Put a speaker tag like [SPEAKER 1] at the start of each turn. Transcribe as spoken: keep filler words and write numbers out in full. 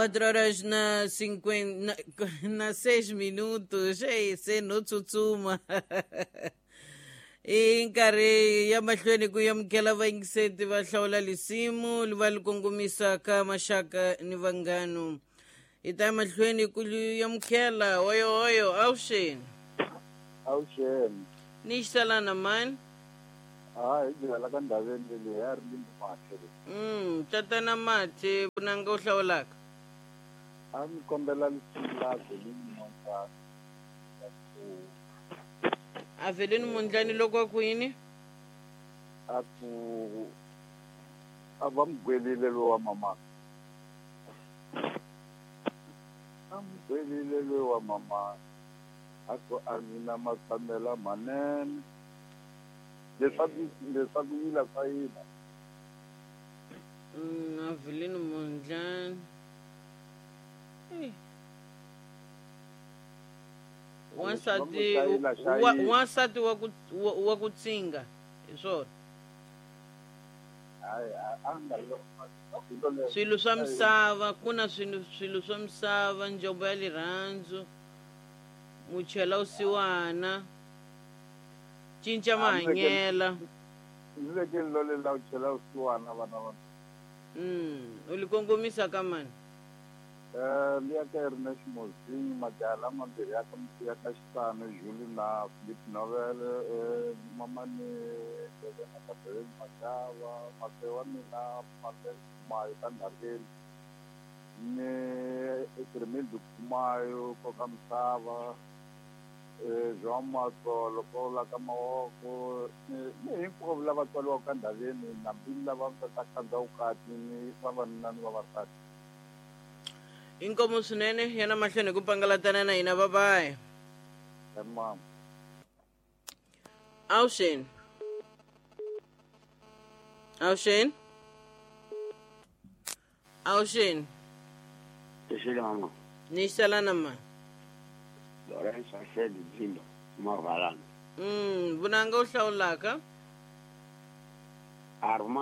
[SPEAKER 1] Quatro horas na cinquenta, na, na seis minutos. Ei, se no tsutsuma. I nkarhi ya mahlweni ku amukela vayingiseti va hlawula lisimu va li kongomisaka maxaka ni vanghano hi ta ya mahlweni ku amukela oyo oyo avuxeni.
[SPEAKER 2] Avuxeni.
[SPEAKER 1] Ni xisalana mani.
[SPEAKER 2] Hayi, hi byela ka ndhaveni leyi ya ri limbi mathe.
[SPEAKER 1] Mm tatana Mathe, vunanga u hlawulaka?
[SPEAKER 2] A ni kombela lisimu la Avelini Mondlani.
[SPEAKER 1] Avelini Mondlani loko a ku yini?
[SPEAKER 2] A ku a va mugwelile lowa mama. A mugwelile lowa mama. A ku a mina matshamela manene. Leswaku leswaku yila swa yina.
[SPEAKER 1] Mm Avelini Mondlani. Hey. Wansati wansati wa ku wa ku tsinga hi swona. Swilo swa misava ku na swilo swilo swa misava, njombo ya lirhandzu, muchela usiwana, cinca mahanyela.
[SPEAKER 2] Ndzi vekeni lole la uchela usiwana vana va.
[SPEAKER 1] Mm u li kongomisa ka mani?
[SPEAKER 2] Eh liya ka Ernest Mozini, majaha lamambirhi ya ka ya ka Xitano, Julie na Philip Novel, eh mamani Levena Kabeleni Mashava, mase wa mina Mase Khumayo ka Ndhaveni, ni Etirmildi Khumayo koka misava, eh João Matsolo ko la ka Mawoko, ni ni hinkwavo lava tswariwaka ka Ndhaveni, nambi lava nga ta khandza vukati ni vavanuna ni vavasati.
[SPEAKER 1] Inkomu swinene yana mahlweni ku pangalatana na hina, babayi.
[SPEAKER 2] Tamam.
[SPEAKER 1] Avuxeni. Avuxeni. Avuxeni.
[SPEAKER 3] Xixile mama.
[SPEAKER 1] Ni xalana ma.
[SPEAKER 3] Lorenzo Asedi Dzimba, Mavalana.
[SPEAKER 1] Mm, vunanga u hlawulaka?
[SPEAKER 3] Armando.